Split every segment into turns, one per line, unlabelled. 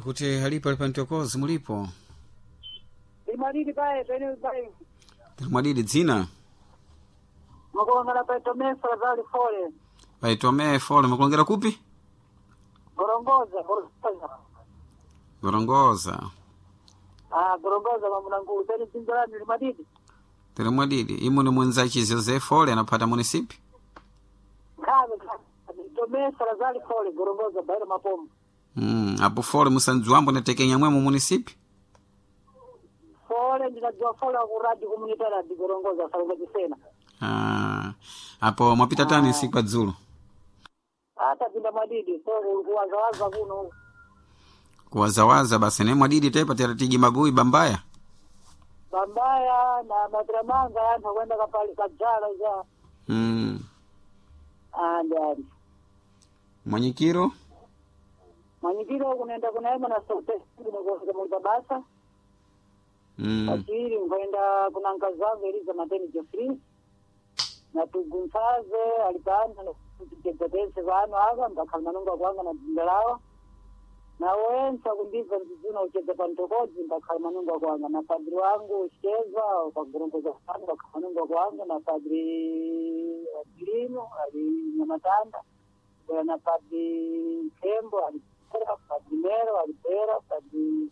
Kuti halipo alipa mtokozi mulipo.
Limalili pae pene pae.
Tilimwadidi dzina.
Mukulongera pa Tomé Salazar Fole.
Pai Fole mukulongera kupi?
Gorongoza, Gorongoza.
Gorongoza.
Ah, Gorongoza mamunangulu pene dzinza lanu limadidi.
Tilimwadidi imu ni mwenzachi José Fole anapata munisipi.
Nkhabe nkhabe. Tomé Salazar Fole Gorongoza bairo mapombo.
Apo Fole musandziwambo natekenya mwemo munisipi.
Fole ndinadziwa fole ku radio comunitaria di Gorongoza Salazar Chisena.
Ah, apo mwapita tani siku pa dzulo.
Ata pinda madidi so kuwazawaza kuno.
Kuwazawaza basi ne mwadidi tepa teratigi magui bambaya.
Bambaya na matramanga anthu kwenda kapali kadzala ja. Ah, ndi.
Mwanyikiro.
Mwanyikiro kunaenda kunaema na sote kunokuza mulibabasa. Pachiri nkaenda kuna nkazi wangu Eliza Mateni Jeffrey na tugunthaze alipano tikutetetese vanu ava mbakhala manunga kwanga na dzinda lawo na wensa kundibva mdzidzina uchedza pantokodzi mbakhala manunga kwanga na padri wangu uchiteza pagorongoza pano mbakhala manunga kwanga na padri Adilino ali Nyamatanda bwera na padri Nkhembo ali Bera padri Mero ali Bera padri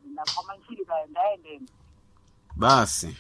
ndamanchiri kaendaendeni
Basi.